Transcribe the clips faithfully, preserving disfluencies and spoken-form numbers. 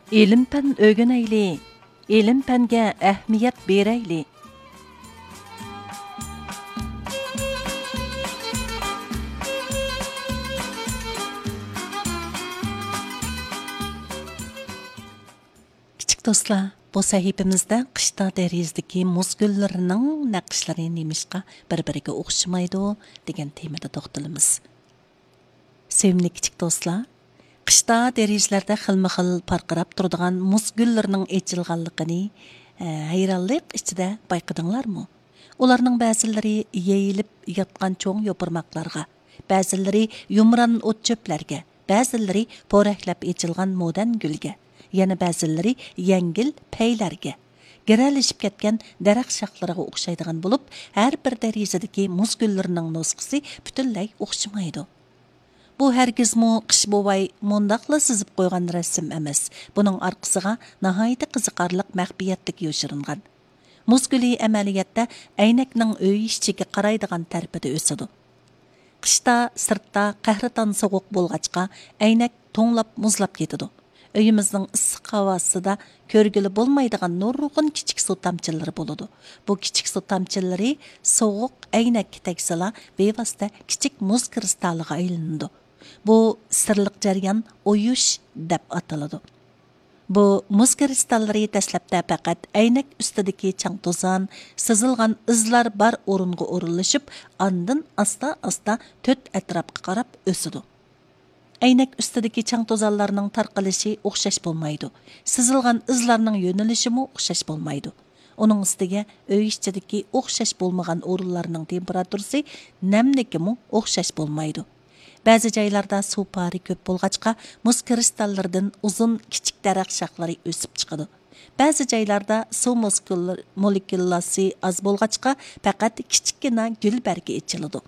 ئىلىم-پەن ئۆگىنەيلى، ئىلىم-پەنگە ئەھمىيەت بېرەيلى. كىچىك دوستلار، بۇ سەھىپىمىزدە قىشتا دېرىزىدىكى مۇز گۈللىرىنىڭ نەقىشلىرى نېمىشقا بىر-بىرىگە ئوخشىمايدۇ دېگەن تېمىدا توختىلىمىز. سۆيۈملۈك كىچىك دوستلار، قىشتا دېرىزىلەردە خىلمۇ خىل پارقىراپ تۇرىدىغان مۇز گۈللىرىنىڭ ئېچىلغانلىقىنى، ھەيرانلىق ئىچىدە بايقىدىڭلارمۇ؟ ئۇلارنىڭ بەزىلىرى يېيىلىپ ياتقان چوڭ يوپۇرماقلارغا، بەزىلىرى يۇمران ئوت چۆپلەرگە، بەزىلىرى پورەكلەپ ئېچىلغان مودەن گۈلگە، يەنە بەزىلىرى يەڭگىل پەيلەرگە، گىرەلىشىپ كەتكەن دەرەخ شاخلىرىغا ئوخشايدىغان بولۇپ، ھەر بىر دېرىزىدىكى مۇز گۈللىرىنىڭ نۇسخىسى پۈتۈنلەي ئوخشىمايدۇ. بۇ ھەرگىزمۇ قىش بوۋاي مۇنداقلا سىزىپ قويغان رەسىم ئەمەس. بۇنىڭ ئارقىسىغا ناھايىتى قىزىقارلىق مەخپىيەتلىك يوشۇرۇنغان. مۇز گۈلى ئەمەلىيەتتە ئەينەكنىڭ ئۆي ئىچىگە قارايدىغان تەرىپىدە ئۆسىدۇ. قىشتا سىرتتا قەھرىتان سوغۇق بولغاچقا، ئەينەك توڭلاپ مۇزلاپ كېتىدۇ. ئۆيىمىزنىڭ ئىسسىق ھاۋاسىدا كۆرگىلى بولمايدىغان نۇرغۇن كىچىك سۇ تامچىلىرى بولىدۇ. بۇ كىچىك سۇ تامچىلىرى سوغۇق ئەينەككە تەگسىلا، بىۋاسىتە كىچىك مۇز كىرىستالىغا ئايلىنىدۇ. بۇ سىرلىق جەريان ئويۇش دەپ ئاتىلىدۇ. بۇ مۇز كىرىستاللىرى دەسلەپتە پەقەت ئەينەك ئۈستىدىكى چاڭ-توزان، سىزىلغان ئىزلار بار ئورۇنغا ئورۇنلىشىپ، ئاندىن ئاستا-ئاستا تۆت ئەتراپقا قاراپ ئۆسىدۇ. ئەينەك ئۈستىدىكى چاڭ-توزانلارنىڭ تارقىلىشى ئوخشاش بولمايدۇ. سىزىلغان ئىزلارنىڭ يۆنىلىشىمۇ ئوخشاش بولمايدۇ. ئۇنىڭ ئۈستىگە ئۆي ئىچىدىكى ئوخشاش بولمىغان ئورۇنلارنىڭ تېمپېراتۇرىسى، نەملىكىمۇ ئوخشاش بولمايدۇ. بەزى جايلاردا سۇ پارى كۆپ بولغاچقا، مۇز كىرىستاللىرىدىن ئۇزۇن، كىچىك دەرەخ شاخلىرى ئۆسۈپ چىقىدۇ. بەزى جايلاردا سۇ مولېكۇل-، مولېكۇلاسى ئاز بولغاچقا، پەقەت كىچىككىنە گۈل بەرگى ئېچىلىدۇ.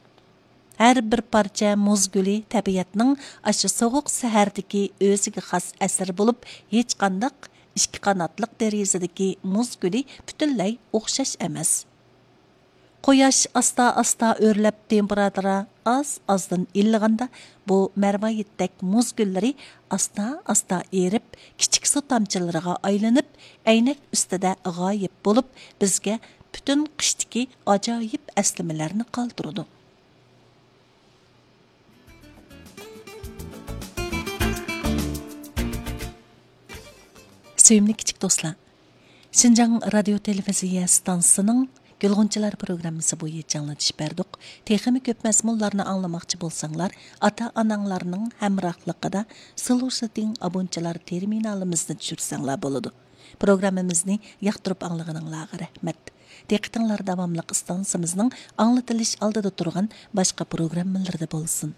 ھەر بىر پارچە مۇز گۈلى تەبىئەتنىڭ ئاشۇ سوغۇق سەھەردىكى ئۆزىگە خاس ئەسىرى بولۇپ، ھېچقانداق ئىككى قاناتلىق دېرىزىدىكى مۇز گۈلى پۈتۈنلەي ئوخشاش ئەمەس. قۇياش ئاستا-ئاستا ئۆرلەپ، تېمپېراتۇرا ئاز-ئازدىن ئىللىغاندا، بۇ مەرۋايىتتەك مۇز گۈللىرى ئاستا-ئاستا ئېرىپ، كىچىك سۇ تامچىلىرىغا ئايلىنىپ، ئەينەك ئۈستىدە غايىب بولۇپ، بىزگە پۈتۈن قىشتىكى ئاجايىپ ئەسلىمىلەرنى قالدۇرىدۇ. سۆيۈملۈك كىچىك دوستلار، شىنجاڭ رادىيو تېلېۋىزىيە ئىستانسىسىنىڭ گۈلغۇنچىلار پروگراممىسى بويىچە ئاڭلىتىش بەردۇق. تېخىمۇ كۆپ مەزمۇنلارنى ئاڭلىماقچى بولساڭلار، ئاتا-ئاناڭلارنىڭ ھەمراھلىقىدا سىلۇشىتىڭ ئابۇنچىلار تېرمىنالىمىزنى چۈشۈرسەڭلار بولىدۇ. پروگراممىمىزنى ياقتۇرۇپ ئاڭلىغىنىڭلارغا رەھمەت. دىققىتىڭلار داۋاملىق ئىستانسىمىزنىڭ ئاڭلىتىلىش ئالدىدا تۇرغان باشقا پروگراممىلىرىدا بولسۇن.